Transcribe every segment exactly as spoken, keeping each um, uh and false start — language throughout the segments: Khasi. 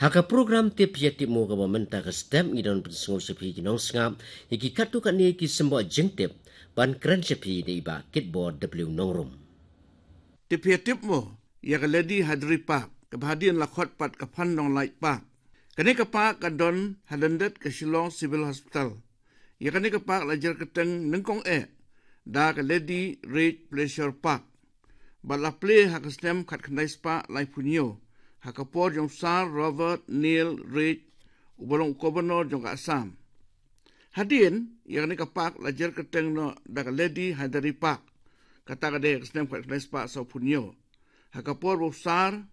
Ha ka program Tip Ïa Tip Mo kaba mynta ka step, ngi don pynsngew sha phi ki nongsngap ïa ki katto katne ki symboh jingtip, ban kren sha phi da i Bah Kitbor W Nongrum. Tip Ïa Tip Mo, ïa ka Lady Hyderi Park, kaba hadien la khot pat ka Phan Nonglait Park. Kane ka park ka don ha lyndet ka Shillong Civil Hospital. Ïa kane ka park la jer kyrteng nyngkong eh da ka Lady Reid Pleasure Park, bad la plie ha ka snem khatkhyndai spah laiphew hynñiew, ha ka por jong u Sir Robert Neil Reid, uba long u Governor jong ka Assam. Hadien, ïa kane ka park la jer kyrteng noh da ka Lady Hyderi Park, kata ka dei ha ka snem khatkhyndai spah sawphew hynñiew, ha ka por ba u Sir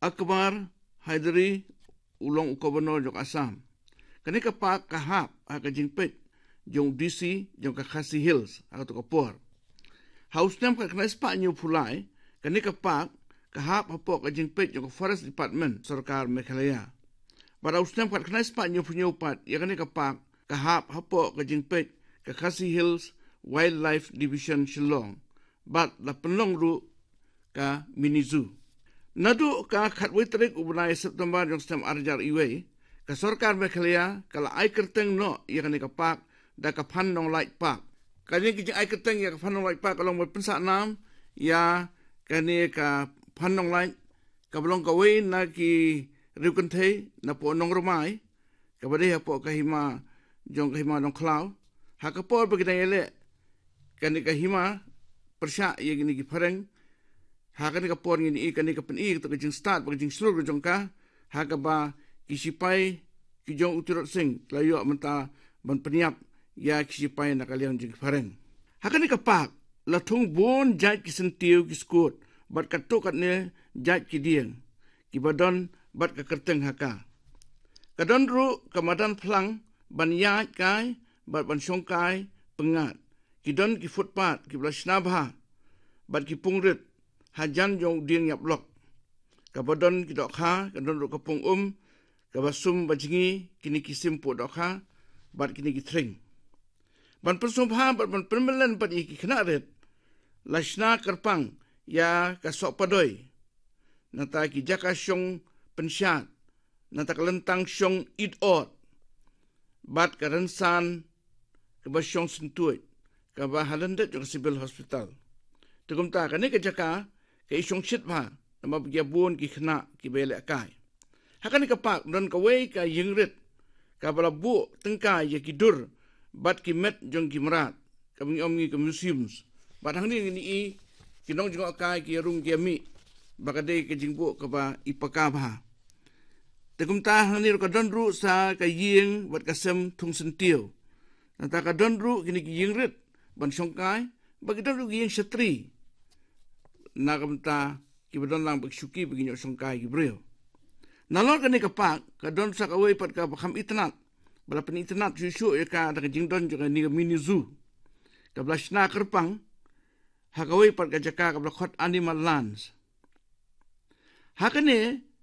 Akbar Hyderi u long u Governor jong ka Assam. Kane ka park ka hap ha ka jingpeit jong u D C jong ka Khasi Hills ha kato ka por. Ha u snem khatkhyndai spah hynñiewphew lai, kane ka park ka hap hapoh ka jingpeit jong ka Forest Department sorkar Meghalaya. Bad ha u snem khatkhyndai spah hynñiewphew hynñiew pat, ïa kane ka park ka hap hapoh ka jingpeit ka Khasi Hills Wildlife Division Shillong, bad la pynlong ruh ka mini zoo. Naduh ka khatwei tarik u bnai September jong snem ar hajar iwei, ka sorkar Meghalaya ka la ai kyrteng noh ïa kane ka park da ka Phan Nonglait Park. Kane ka jingai kyrteng ïa ka Phan Nonglait Park ka long ban pynsah nam ïa kane ka Phan Nonglait, kaba long kawei na ki riew kynthei napoh Nongrymai, kaba dei hapoh ka hima jong ka Hima Nongkhlaw. Ha ka por ba ki dang ïaleh kane ka hima pyrshah ïa kine ki phareng, ha kane ka por ngin ïohi kane ka pyni kato ka jingstad bad ka jingshlur ka jong ka, ha kaba ki shipai ki jong u Tirot Sing la ïoh mynta ban pynïap ïa ki shipai na ka liang jong ki phareng. Ha kane ka park la thung bun jait ki syntiew, ki skud bad katto katne jait ki dieng, kiba don bad ka kyrteng ha ka. Ka don ruh ka madan phlang ban ïaid kai bad ban shong kai pyngngad. Ki don ki footpath kiba la shna bha bad ki pung rit hajan jong u dieng ïap lok. Kaba don ki dohkha, ka don ruh ka pung um kaba sum ba jngi kine ki sim puh dohkha bad kine ki thring. Ban pynsngewbha bad ban pynmlien bad ïa ki khynnah rit, la shna kyrpang ïa ka soh padoi, nangta ki jaka shong pynshad, nangta ka lyntang shong it ot, bad ka rynsan kaba shong syntuid, kaba ha lyndet jong ka Civil Hospital. Te kumta kane ka jaka ka i shong shit bha, namar ba ki ïa bun ki khynnah kiba ïaleh kai. Ha kane ka park don kawei ka ïing rit kaba la buh tyngka ïa ki dur bad ki met jong ki mrad, kaba ngi ong ngi ka museums. Bad hangne ngin ïohi ki nongjngohkai ki ïa rung ki ïa mih, ba ka dei ka jingbuh kaba i paka bha. Te kumta hangne ruh ka don ruh sa ka ïing bad ka sem thung syntiew. Nangta ka don ruh kine ki ïing rit ban shong kai, bad ki don ruh ki ïing shatri. Na ka bynta kiba don lang bad ki shuki ba ki ïoh shong kai ki briew. Nalor kane ka park ka don sa kawei pat kaba kham itynnad, ba la pynitynnad shuh shuh ïa ka da ka jingdon jong kane ka mini zoo, kaba la shna kyrpang ha kawei pat ka jaka kaba la khot Animal Lands. Ha kane